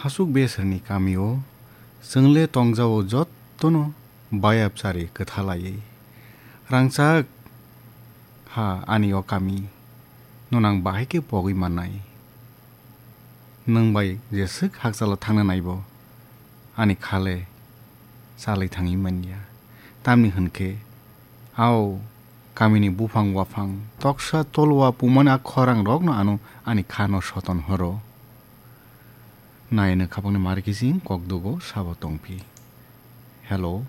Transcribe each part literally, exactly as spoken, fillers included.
Aswk beswrni kamio chwngle tongjao jottono bayapchari kwthalaiwi. Rangchak ha ani o kami, nwnang bahai khe pogwi mannai. Nwng bai jeswk hakchalo thangna naibo ani khale chalwi thangwi manya. Tamni hwnkhe, ao kamini buphang waphang toksa tolwa pumani a khorangrokno ano ani khano soton horo. Naino khapangni mari kising kok dugo sabo tongphi. Hello.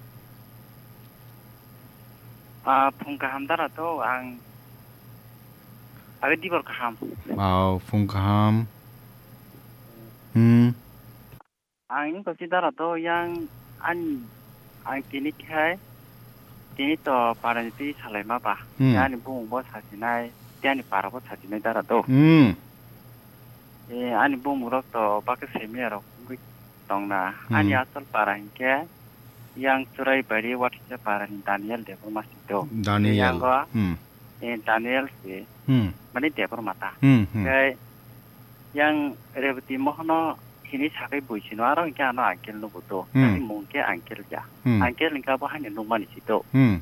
Ah, phung kaham dara to ang age dibor kaham. Wow, phung kaham. Hmm. Ang ini kosi dara to yang ani ang tini khai tini to parani twi salai ma ba. Hmm. Ani bung bo sasinai, ani para bo sasinai dara to. Hmm. Eh, ani bumung rok to bakhe semiya rok wngwi tongna. Hmm. Ani asol para hinkhe yang Chwraibari Wathisa parani Daniel Debbarma si do. Daniel. Yango, hmm, eh, Daniel si, hmm, mani Debbarma ta. Hmm, hmm. Khe yang Rebati Mohono hini sakai buisino aro hinkhe ano uncle nugo do. Hmm. Ani mung khe uncle ya. Hmm. Uncle hinkhe abo haino nukmani si do. Hmm.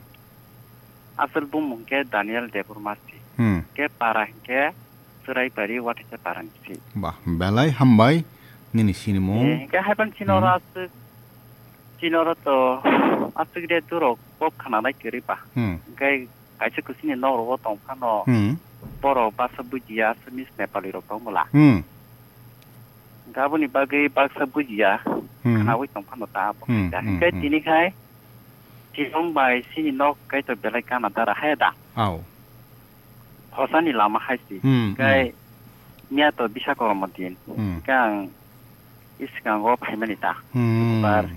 Asol bumung khe Daniel Debbarma si. Hmm. Khe para hinkhe Chwraibari Wathisa parani si. Bah, belai hambai nini sinimung. Eh, hinkhe haiban sinoro, hmm, aswk, sinoro to aswk de durok pop khananai kwrwi ba. Hmm. Hinkhe kaisa kusini nok rogo tong phano, hmm, borok baksa bujiya aswk mis Nepali rok tong bwla. Hmm. Hinkhe aboni bagwi baksa bujiya, hmm, khanaui tong phano ta bo, hmm, khaida. Hmm, hinkhe, hmm, tini khai Shillong bai chini nok kaitor belai gana dara hai da. Au. Hosani lama hai si. Hmm, hmm. Kai miya to bisa kormo din. Hmm. Khe ang iskango phaimani ta. Hmm. Bar.